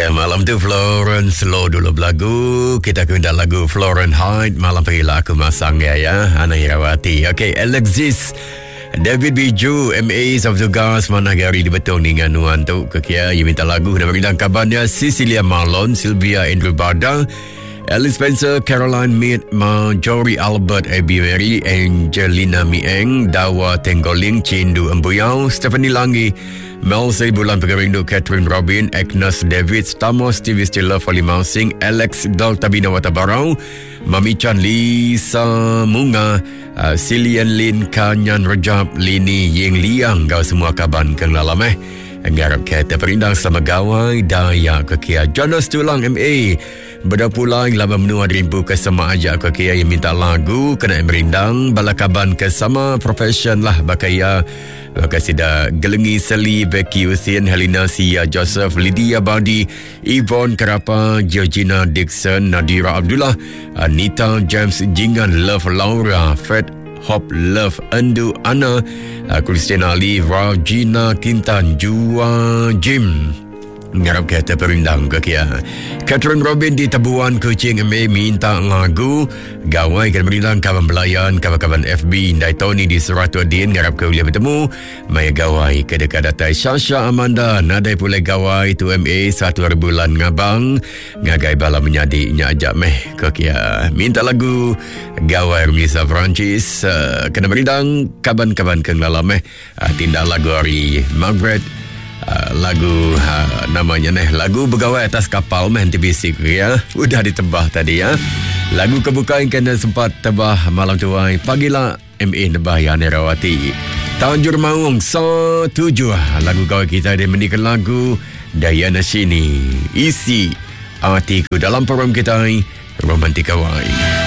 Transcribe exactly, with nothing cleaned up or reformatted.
Ya, malam tu Florence Low dulu belagu. Kita kena lagu Florence Hyde. Malam pagi aku masang ya ya. Ana Irawati. Okey, Alexis David Biju M A Sabtugas mana gari di betul dengan nuan tu ke kia. Ia minta lagu dan berikan kabarnya Cecilia Marlon, Sylvia Andrew Bada, Alice Spencer, Caroline Mead, Marjorie Albert, Abby Mary, Angelina Mieng, Dawa Tenggoling, Cindu Embuyau, Stephanie Langi, Mel Bulan Pegerindu, Catherine Robin, Agnes David, Stamos, T V Stiller, Folly Mousing, Alex Daltabina Watabarau, Mami Chan, Lisa Munga, uh, Silian Lin, Kanyan Rejab, Lini Ying Liang, kau semua kaban keng lalam eh. Ngarap kita perindang sama gawai daya ke kia. Jonas Tulang M A berpulang lama menua rimpu ke sama aja ke kia yang minta lagu kena merindang bala kaban ke sama profession lah bakaya. Bakal sida Gelengi Seli, Becky Usin, Helena Sia Joseph, Lydia Badi, Yvonne Kerapa, Georgina Dixon, Nadira Abdullah, Anita James Jingan, Love Laura, Fred Hop Love, Endu Anna, Christina Ali, Regina Kintan, Jua Jim. Ngarap kita perindang ke kia. Catherine Robin di Tabuan Kuching M A minta lagu Gawai kena merindang kawan belayan, kawan-kawan F B Ndai Tony di Seratus Din. Ngarap ke boleh bertemu Maya Gawai ke dekat datai Sasha Amanda Nadai pulai Gawai tu M A satu hari bulan ngabang ngagai bala menyadi nyak ajak meh ke kia. Minta lagu Gawai Remisa Francis uh, kena merindang kawan-kawan ke ngalam meh. Uh, tindak lagu hari Margaret. Uh, lagu uh, namanya neh lagu Begawai Atas Kapal meh T B C ya. Udah ditebah tadi ya. Lagu kebuka yang kena sempat tebah malam tuai pagilah M A nebah ya Nerawati. Tanjur Maung so tujuh lagu gawai kita dia mendikan lagu Diana Sini. Isi hatiku dalam program kita Romantik Gawai.